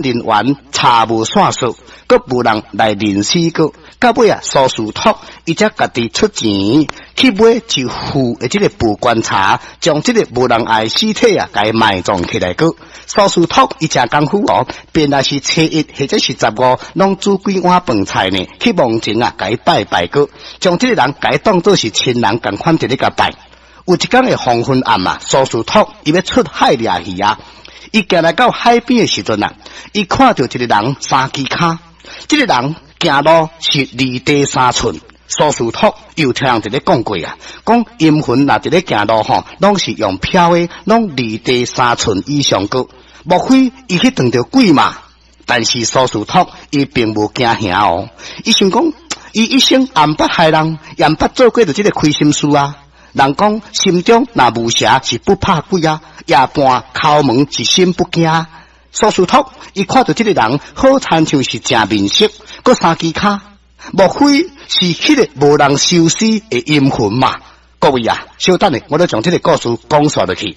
人員查無線索，閣無人來認屍閣。到尾啊，蘇士托伊才家己出錢去買一副的這个布棺柴，將這个無人愛屍體啊，共伊埋葬起來閣。蘇士托伊誠功夫哦，便若是初一或者是十五，攏煮幾碗飯菜呢，去墓前啊，共伊拜拜閣，將這个人共伊當做是親人仝款佇咧共拜。有一工的黃昏暗啊，蘇士托伊欲出海掠魚啊，伊行來到海邊的時陣啊，伊看著一个人三支跤，這个人行路是離地三寸。蘇士托又聽人佇咧講過啊，講陰魂若佇咧行路吼，攏是用飄的，攏離地三寸以上高。莫非伊去撞著鬼嘛？但是蘇士托伊並無驚嚇哦，伊想講，伊一生也毋捌害人，也毋捌做過著這个虧心事啊。人講心中若無邪是不怕鬼啊，夜半敲門是心不驚。蘇士托伊看著這个人好親像是誠面熟，閣三支跤，莫非是彼个無人收屍的陰魂嘛？各位啊，稍等下，我咧將這个故事講煞落去。